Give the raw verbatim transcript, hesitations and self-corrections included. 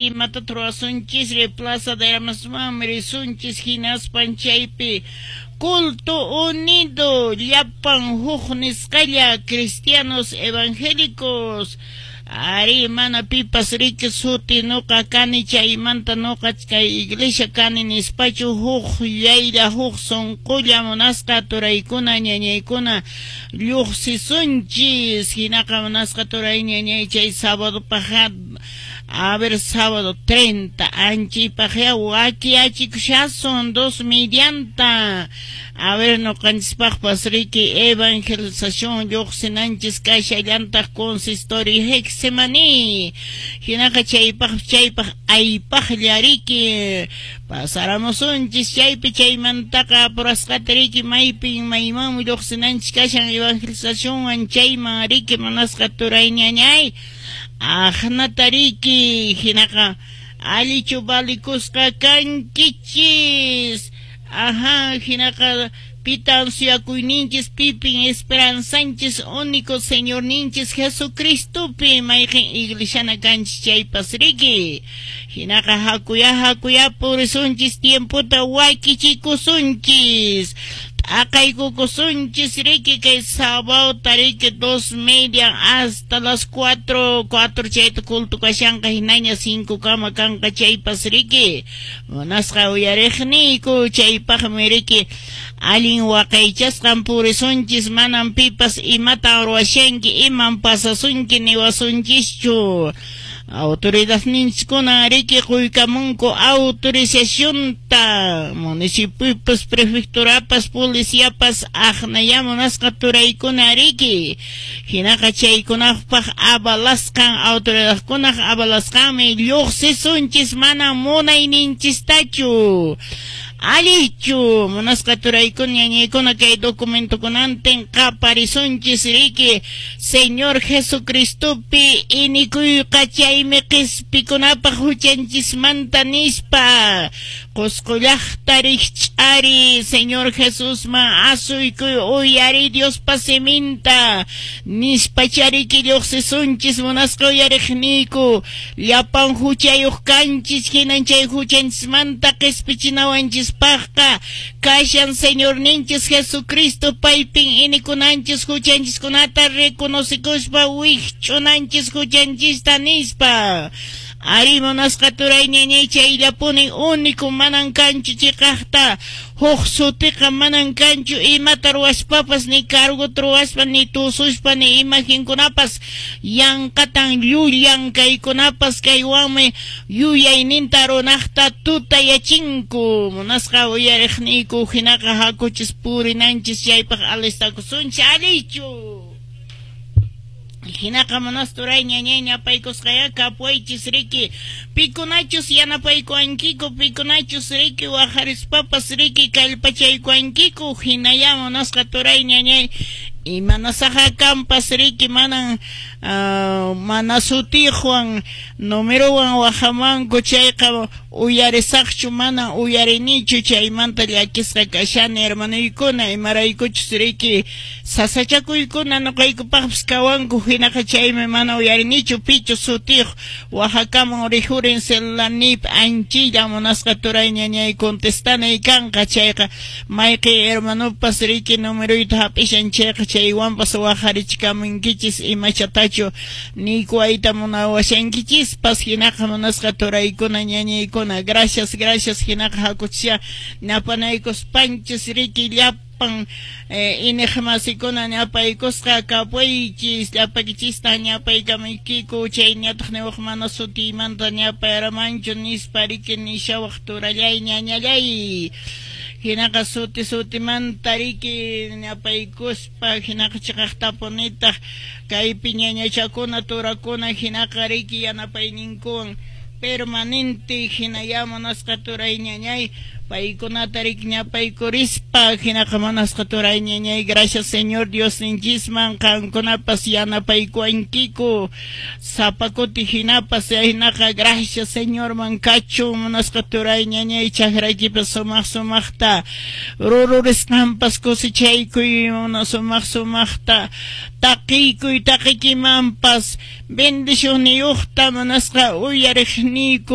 Imatata ruwasunchis Plaza de Armasmanmi risunchis, hinaspan chaypi culto unido, llapan huk nisqalla cristianos evangélicos. Ari, mana pipas riki suti nuqa kani, chaymanta nuqa kay iglesia kani nispachu, huk llaylla, huk sunqulla, munasqa turaykuna, ñañaykuna, lluqsisunchis. Hinaqa, munasqa turay, ñañay, chay sábado paq, a ver, sábado treinta, anchipaqya wakiachikushasun dos medianta. A ver, nuqanchispaqpas riki evangelización lluqsinanchis kashallantaq consistorio Getsemaní. Hinaqa chaypaq chaypaq aypaqlla riki pasaramusunchis chaypi. Chaymantaqa apurasqata riki maypin maymanmi lluqsinanchis kashan evangelizacionwan chayman riki, munasqa turay, ñañay, aqnata riki. Hinaqa allichu valikusqa kankichis? Ajá, hinaqa pitan suyakuyninchis, pipin esperanzanchis? Único Señorninchis Jesucristopi, mayqin iglesiana kanchis chaypas riki. Hinaqa hakuya hakuya purisunchis, tiempota wakichikusunchis, t'aqaykukusunchis riki kay sábado riki dos media hasta las cuatro, cuatro chayta culto kashanqa, hinaña cinco kama kanqa chaypas riki. Munasqa uyariqniyku, chaypaqmi riki allin waqaychasqan purisunchis. Manan pipas imatan ruwashanki, iman pasasunki niwasunchischu. Autoridadninchiskuna riki quykamunku autorizacionta, municipiopas, prefecturapas, policiapas, aqnaya, munasqa turaykuna, riki. Hinaqa chaykunapaq avalasqan, autoridadkunaq avalasqanmi lluqsisunchis, mana munayninchistachu. Allichu, munasqa turaykuna, ñañaykuna? Kay documentokunantin qaparisunchis riki: Señor Jesucristopi inikuyqa chaymi qispikunapaq huchanchismanta nispa. Qusqu llaqta, rikch'ari, Señor Jesusman asuykuy, uyari Diospa siminta nispa chariki lluqsisunchis. Munasqa uyariqniyku, llapan huchayuq kanchis, hinan chay huchanchismanta qispichinawanchispaqqa kashan Señorninchis Jesucristo. Paypin inikunanchis, huchanchiskunata reconocikuspa wikch'unanchis huchanchista nispa. Ari, munasqa turay, ñañay, chayllapuni único, manan kanchu chiqaqta huk sutiqa, manan kanchu imata ruwaspapas, ni cargota ruwaspa, ni tususpa, ni imagenkunapas yanqatan llullan kaykunapas. Kaywanmi yuyayninta runaqta tutayachinku, munasqa uyariqniyku. Hinaqa hakuchis purinanchis chaypaq, alistakusunchis. Allichu? Hinaqa munasturay, ñañay, ñapaykusqaya kapuwaychis riki pikunachus yanapaykuwankiku, pikunachus riki waqarispapas riki kallpachaykuwankiku. Hinaya, munasqa turay, ñañay, imanasaqa kanpas riki manan uh, mana sutiqwan numerowan waqamanku chayqa uyarisaqchu, mana uyarinichu. Chaymanta llakisqa kashani, hermanoykuna, imaraykuchus riki sasachakuykuna nuqaykupaqpis kawanku. Hinaqa chaymi mana uyarinichu pichu sutiyuq waqakamun rijurin celularniypi. Anchilla, munasqa turay, ñañay, contestanay kanqa chayqa mayqin hermanopas riki numeroyta hap'ishan chayqa chaywanpas waqarichikamunkichis imachatachu niykuwayta munawashankichispas. Hinaqa munasqa turaykuna, ñañaykuna, gracias, gracias. Hinaqa hakuchisya ñapanaykuspanchis riki llapan eh, iniqmasikuna, ñapaykusqa kapuychis, llapaykichistan ñapaykamaykiku. Chayñataq niwaq mana sutiymanta ñapayaramanchu nispa riki nishawaq turallay, ñañallay. Hinaqa suti sutimanta riki ñapaykuspa, hinaqa chiqaqtapunitaq kaypi ñañachakuna, turakuna, hinaqa riki yanapayninkuwan permanente. Hinaya, munasqa turay, ñañay. Paykunata rikñapaykurispa hinaqa munasqa turay ñañay, gracias Señor Diosninchisman, qankunapas yanapaykuwankiku sapa kuti hinapas, hinaqa gracias Señorman kachun. Munasqa turay ñañay, chakraykipas sumaq sumaqta rururisqanpas cosechaykuy, sumaq sumaqta taqiykuy, taqikimanpas bendicionniyuqta munasqa uyariqniyku.